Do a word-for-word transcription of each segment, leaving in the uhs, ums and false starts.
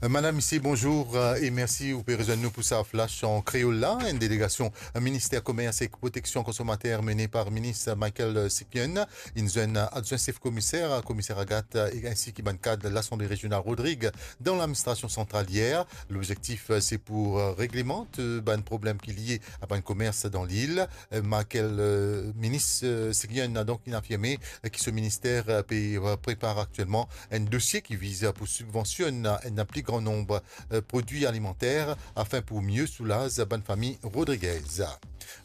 Madam, misie, bonzour, euh, e mersi ou pe rezwenn nou pou sa flash an kreol la. Enn delegasion Minister Komers ek Proteksion Konsomater, mene par Minis Michael Siknyon, inn zwenn adwin sef komiser, komiser Agathe, e ensi ki bann kad Lasanble Rezional Rodrig dan ladministrasion santral yer. Lobzektif, euh, se pou, euh, reglemant, euh, bann problem ki lie a bann komers dan lil. Euh, Michael, euh, Minis, euh, Siknyon, donk, inn afirme, euh, ki so minister, euh, pe, euh, prepar aktielman enn dosie ki viz pou sibvansionn enn pli gran nonb, euh, prodwi alimanter afin pou mie soulaz bann fami Rodriguez.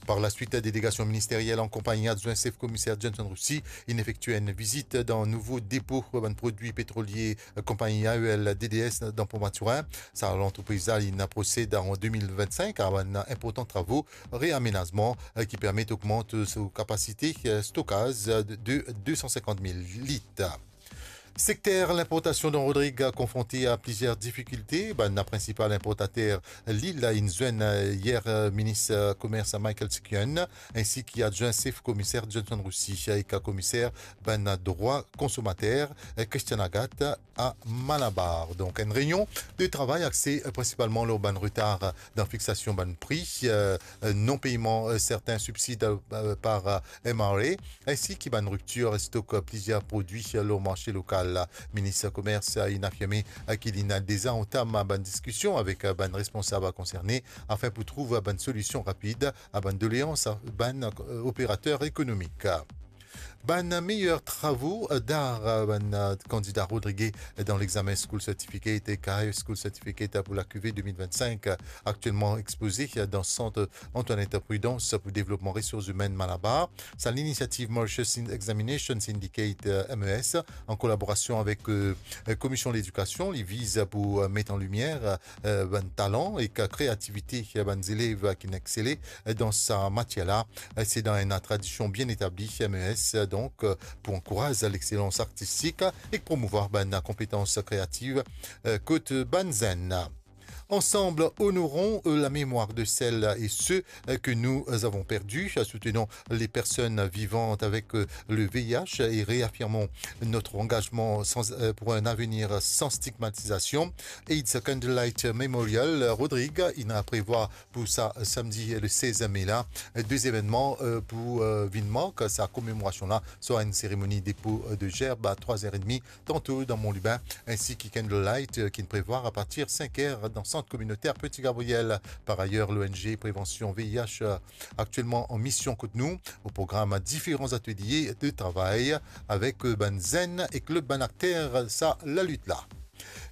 Par laswit, delegasion ministeriel an konpagni adwin sef komiser Johnson Roussy inn efektie enn vizit dan nouvo depo bann prodwi petrolie, euh, konpagni A E L D D S dan Port Mathurin. Sa lantrepriz la inn prosed an de mil vennsenk a bann inportan travo reamenazman, euh, ki permet ogmant, euh, so kapasite, euh, stokaz, euh, de, de de san sinkant mil lit. Sekter linportasion dan Rodrig konfronte a plizier difikilte. Bann prinsipal inportater lil la inn zwenn, euh, yer, euh, Minis, euh, Komers Michael Siknyon, ensi ki adwin sef komiser Johnson Roussy, ek komiser bann drwa konsomater, euh, Christian Agathe, a Malabar. Donk, enn reynion de travay axe, euh, prinsipalman lor bann retar, euh, dan fiksasion bann pri, euh, euh, non peyman, euh, serten sibsid, euh, par, euh, M R A, ensi ki bann riptir stok, euh, plizier prodwi, euh, lor marse lokal. Minis Komers, euh, inn afirme, euh, ki li inn deza antam bann diskision avek, euh, bann responsab konserne afin pou trouv bann solision rapid a bann doleans, euh, bann, euh, operater ekonomik. Bann meyer travo, euh, dar, euh, bann, euh, kandida rodrige dan lexamen School Certificate ek High School Certificate pou lakive de mil vennsenk, euh, aktielman expoze, euh, dan sant Antoinette Prudence pou devlopman resours imenn Malabar. Sa linisiativ Mauritius Examination Syndicate, euh, M E S, an kolaborasion avek, euh, euh, Komision Ledikasion, li viz pou, euh, met an limier, euh, bann talan ek kreativite, euh, bann zelev, euh, ki inn exsele, euh, dan sa matier la. Euh, se dan enn tradision bien etabli M E S, euh, donk, euh, pou ankouraz lexselans artistik ek promouvwar bann konpetans kreativ, euh, kot bann zenn. Ensemble, honorons, euh, la mémoire de celles et ceux, euh, que nous avons perdus. Soutenons les personnes vivantes avec, euh, le V I H et réaffirmons notre engagement sans, euh, pour un avenir sans stigmatisation. AIDS Candlelight Memorial, euh, Rodrig, inn prevwar pou sa samdi le sez me la, de zevenman, euh, pou, euh, vinn mark sa komemorasion la, swa enn seremoni depo, euh, de zerb a trwa zer edmi, tanto dan Mont Lubin, ensi ki candlelight, euh, ki inn prevwar apartir sink er dan sant kominoter Petit Gabriel. Par ayer, l'O N G Prévention V I H, euh, aktielman an mision kot nou. O program, diferan atelie de travay avek, euh, bann zenn ek lot bann akter sa lalit la.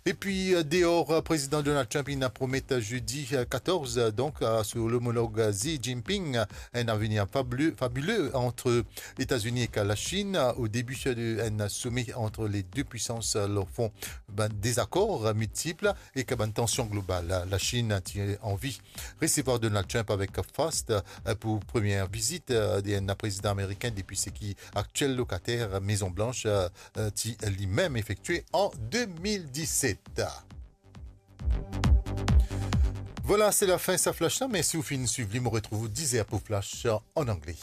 Epi, euh, deor, euh, Prezidan Donald Trump inn promet zedi, euh, katorz, euh, donk, euh, a so lomolog Xi Jinping, euh, enn avenir fabile, fabile ant Etazini ek Lasinn, euh, o debi de enn some ant le de pwisans, euh, lor fon bann dezakor, euh, miltip ek bann tansion global. Lasinn ti anvi resevwar Donald Trump avek fast, euh, pou premie vizit, euh, de enn prezidan amerikin depi seki aktiel lokater Mezon Blanch, euh, euh, ti limem efektie an de mil diset. Vwala, se lafin sa flash la. Mersi ou finn swiv li. Mo retrouv ou diz er pou flash an angle.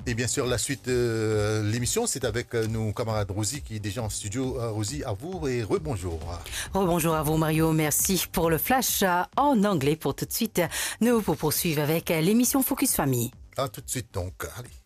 E bien sir, laswit, euh, lemision, se avek, euh, nou kamarad Rosie ki deza an stidio. Euh, Rosie, a vou e rebonzour. Rebonzour a vou, Mario. Mersi pou le flash, euh, an angle. Pou toutswit, nou pou pourswiv avek, euh, lemision Focus Famille. A toutswit, donk. Ale.